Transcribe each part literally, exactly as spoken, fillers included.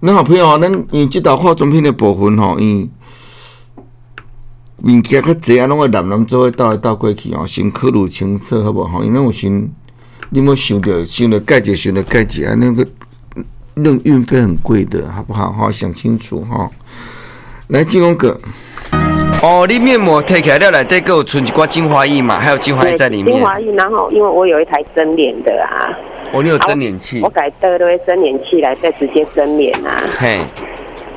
咱好朋友，咱因為這道化妝品的部分吼，因物件較濟啊，攏會攬攬做伙鬥來鬥過去吼，先考慮清楚好無吼？因為有時你莫想著想著蓋者，想著蓋者啊，那個那運費很貴的，好不好？哈，想清楚哈。來，進廣告。哦，你面膜提起來了，內底閣有剩一寡精華液嘛？還有精華液在裡面。精華液，然後因為我有一台蒸臉的啊。哦，你有蒸臉器。我改倒落蒸臉器來，再直接蒸臉啊。嘿。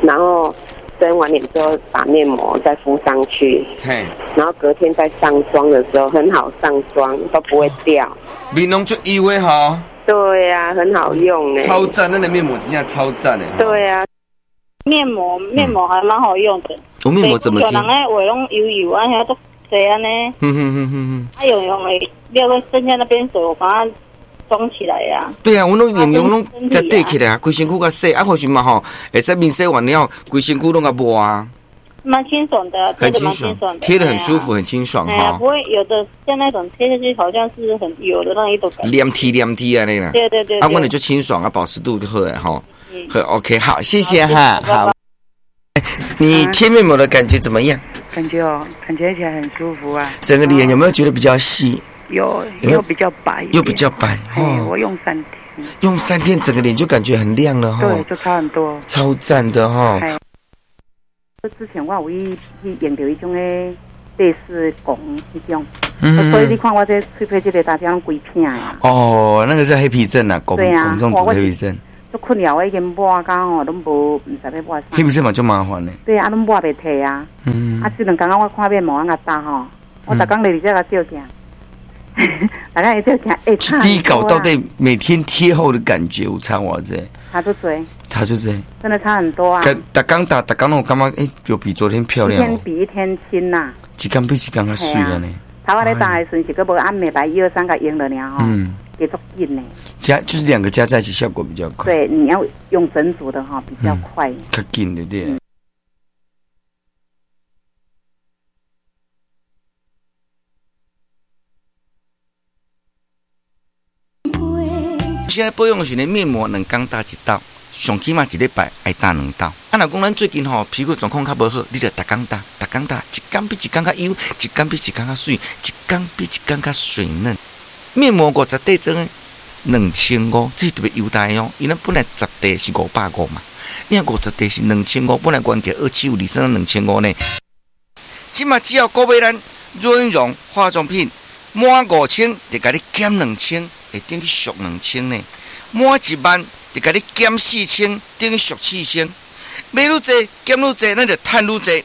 然後蒸完臉之後，把面膜再敷上去。嘿。然後隔天再上妝的時候，很好上妝，都不會掉。面攏足油的吼。對啊，很好用呢。超讚，那個面膜真正超讚的。對啊。面膜面膜還蠻好用的。我面膜怎麼貼？有人咧畫攏油油啊，遐足濟按呢。嗯哼哼哼哼。啊用用的，了剩下那邊水，我把它裝起來呀。對啊，我攏用用攏才底起來啊，規身軀較洗啊，或是嘛吼，會使面洗完了，規身軀攏較抹啊。蠻清爽的，很清爽，貼得很舒服，很清爽哈。不會有的像那種貼下去好像是很油的那一種感覺。黏貼黏貼啊，那個。對對對。啊，我那就清爽啊，保濕度就好了吼。好，OK，好，謝謝哈，好。你貼面膜的感覺怎麼樣？感覺哦，感覺起來很舒服啊。整個臉有沒有覺得比較細？有，又比較白。又比較白。哦，我用三天。用三天，整個臉就感覺很亮了哈。對，就差很多。超讚的哈。之前我有去去用著彼種的類似汞彼種，所以你看我這喙皮這個大家攏規片的。哦，那個是黑皮症啊，汞汞中毒黑皮症。足困擾我已經抹到吼，攏無毋知欲抹啥。黑皮症嘛足麻煩的。對啊，攏抹袂退啊。嗯。啊，這兩工我看面膜按較焦吼，我逐工來佇遮共照鏡，大家會照鏡，欸，差比較到底每天貼後的感覺有差偌濟？差足濟。差足濟。真的差很多啊！逐工打，逐工我感覺欸，有比昨天漂亮。一天比一天輕呐。一天比一天較媠按呢。頭仔咧打的時陣是閣無按美白一二三共用了爾吼。嗯。也足緊呢。加就是兩個加在一起效果比較快。對，你要用整組的哈，比較快。較緊對不對？現在保養的時陣，面膜兩工打一道，上起碼一禮拜愛打兩道。啊，若講咱最近吼皮膚狀況較無好，你就逐工打，逐工打，一工比一工較油，一工比一工較媠，一工比一工較水嫩。面膜五十塊裝的兩千五，這是特別優待哦。因為本來十塊是五百五嘛，你看五十塊是兩千五，本來原價二七五，二算兩千五呢。這馬只要購買咱潤容化妝品滿五千，就共你減兩千，會等於俗兩千呢。滿一萬就共你減四千，等於俗四千。買愈濟減愈濟，咱就趁愈濟。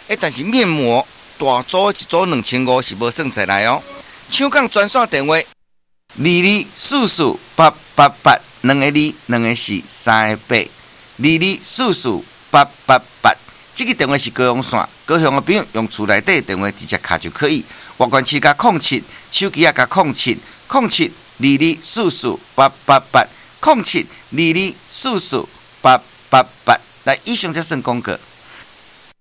欸，但是面膜大組一組兩千五是無算在內哦。搶購專線電話：二二四四八八八，兩個二，兩個四，三個八。二二四四八八八，這個電話是高雄線，高雄的朋友用厝內底電話直接敲就可以。外縣市加空七，手機也加空七，空七二二四四八八八，空七二二四四八八八。來，以上才算廣告。